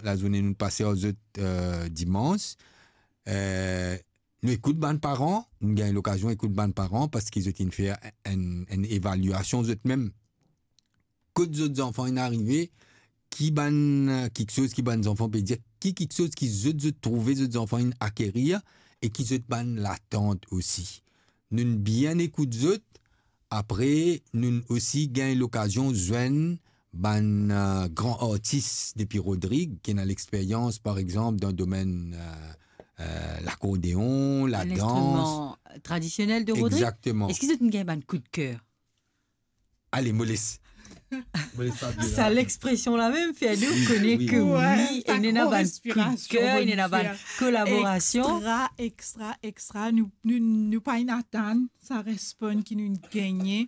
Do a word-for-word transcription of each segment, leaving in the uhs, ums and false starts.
lazourne nou pase ar zot, eh, dimans. Eh, nou ekout bann paran, nou gagn lokazion ekout bann paran parski zot inn fer enn, enn evaliasion zot mem. Kot zot zanfan inn arive, ki bann, eh, kiksoz ki bann zanfan pe dir, ki kiksoz ki zot, zot trouve zot zanfan inn akerir e ki zot bann latant osi. Nou'nn bien ekout zot, apre nou'nn osi gagn lokazion zwenn bann, eh, gran artis depi Rodrig, ki ena lexperyans, par exanp, dan domenn, eh, eh, lakordeon, ladans. Linstriman tradisionel de Rodrig. Exactement. Eski zot inn gagn bann koudker? Ale, mo les. Mo les Fabiola. Sa lexpresion la mem fer nou kone ke wi, wi, wi, wi, ena bann koudker, ena bann kolaborasion. Extra, extra, extra. Nou, nou, nou pa inn atann sa respon ki nou gagne.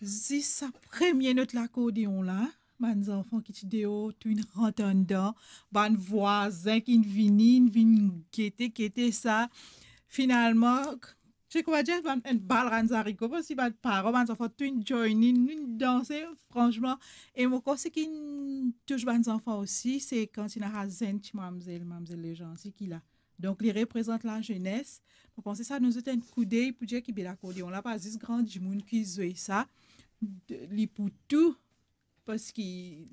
Zis sa premie not lakordeon la, bann zanfan ki ti deor, tou inn rant andan, bann vwazin ki inn vini, inn vinn gete, gete sa. Finalman, se kouma dir, bann, enn bal rann zariko, parski bann paran, bann zanfan, tou inn join in, inn danse, fransman. E mo krwar seki inn tous bann zanfan osi, se kan ti ena sa zenn ti mamzel, mamzel Lejansi ki la. Donk, li reprezant lazenes. Mo panse sa donn zot enn koudey pou dir ki be lakordeon la, pa zis gran dimoun ki zwe sa. De, li pou tou, parski,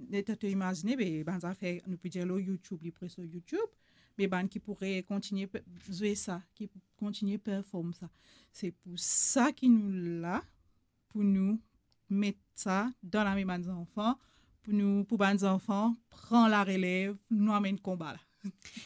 letan to imazine, be, bann zafer, nou pe dir lor YouTube, li pre lor YouTube, me bann ki pou re-, kontigne pe-, zwe sa, ki pou kontigne perform sa. Se pou sa ki nou la, pou nou met sa dan lame bann zanfan, pou nou, pou bann zanfan pran larelev, nou amenn konba la.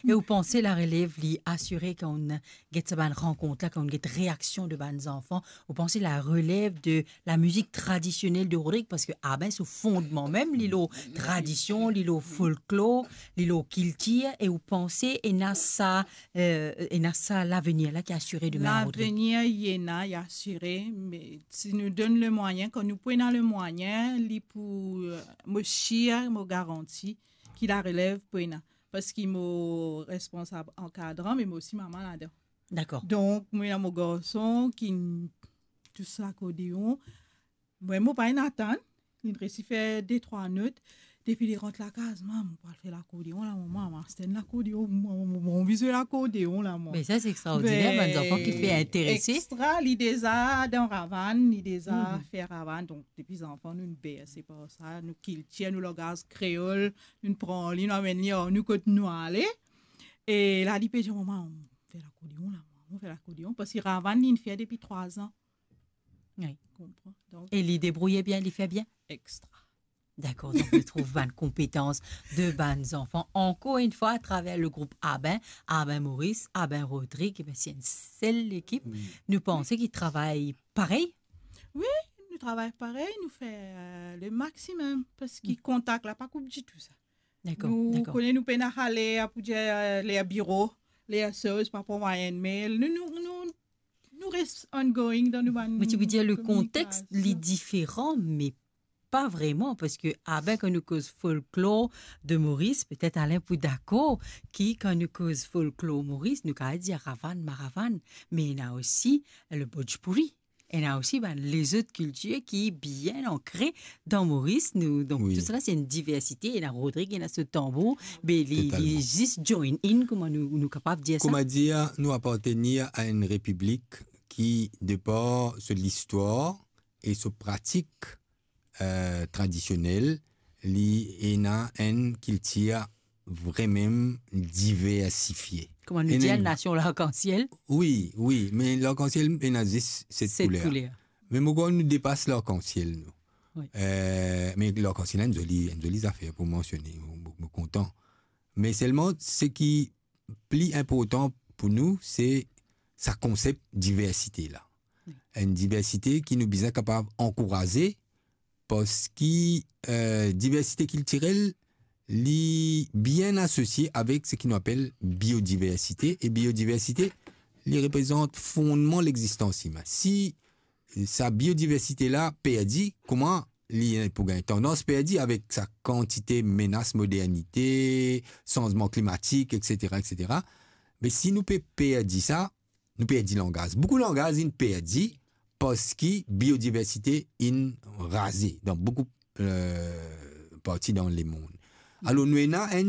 E ou panse larelev li asire kan ou get sa bann rankont la, kan ou get reaksion de bann zanfan, ou panse larelev de lamizik tradisionel de Rodrig, parski, a ben, so fondman mem, li lor tradision, li lor folklor, li lor kiltir, e ou panse ena sa, eh, ena sa lavenir la ki asire demin a Rodrig? Lavenir, li ena, li asire, me si nou donn lemwayin, kan nou pou ena lemwayin, li pou, eh, mo sir, mo garanti ki larelev pou ena. Parski mo responsab ankadran, me mo osi mama ladan. Dakor. Donk, mo ena mo garson ki tous lakordeon. Mwa, mo pa inn atann, li resi fer de trwa not. Depi li rant lakaz, "Mam, mo pou al fer lakordeon la, mama, mo aste enn lakordeon, mo, mo, mo, mo anvi zwe lakordeon la, mwa." Me sa, se extraordiner, bann zanfan ki pe interese. Extra, li deza dan ravann, li deza fer ravann. Donk, depi zanfan, nou berse par sa, nou kiltir, nou langaz kreol, nou pran li, nou amenn li ar nou kot nou ale. E la, li pe dir, "Mama, mo fer lakordeon la, mama, mo fer lakordeon." Parski ravann, li inn fer depi trwa zan. Wi. Konpran? Donk, e li debrouye bien, li fer bien? Extra. Dakor, donk nou trouv bann konpetans de bann zanfan, ankor enn fwa, atraver le group Aben, Aben Moris, Aben Rodrig, e ben, se enn sel lekip. Wi. Nou panse ki travay parey? Wi, nou travay parey, nou fer, eh, le maximum, parski kontak la pa koup ditou sa. Dakor, dakor. Nou kone nou pena ale, pou dir, eh, ler biro, ler soz, pa pou mwayin, me nou, nou, nou, nou res ongoing dan nou bann kominikasion. Mo ti pou dir, le konteks, li diferan, me pa vreman, parski, a ben, kan nou koz folklor de Moris, petet Alain pou dakor, ki kan nou koz folklor Moris, nou kapav dir ravann, maravann, me ena osi le bhojpuri. Ena osi bann lezot kiltir ki bien ankre dan Moris, nou, donk, wi, tou sala, se enn diversite, ena Rodrig, ena so tanbour, be li, li zis join in, kouma nou, nou kapav dir sa. Totalman. Kouma dir, nou apartenir a enn repiblik ki, de par so listwar e so pratik, eh, tradisionel, li ena enn kiltir vremem diversifie. Kouma nou dir, nasion larkansiel? Wi, wi, me larkansiel ena zis set kouler. Set kouler. Me mo krwar nou depas larkansiel, nou. Wi. Eh, me larkansiel, enn zoli, enn zoli zafer pou mansione, mo, mo, mo kontan. Me selman, seki pli inportan pou nou, se sa konsep diversite la. Wi. Enn diversite ki nou bizin kapav ankouraze, parski, eh, diversite kiltirel, li bien asosie avek seki nou apel biodiversite. E biodiversite, li reprezant fondman lexistans imin. Si sa biodiversite la perdi, kouma li pou gagn tandans perdi avek sa kantite menas modernite, sanzman klimatik, etsetera, etsetera. Me si nou pe perdi sa, nou perdi langaz. Boukou langaz inn perdi parski biodiversite inn raze dan boukou, eh, parti dan lemond. Alor, nou ena enn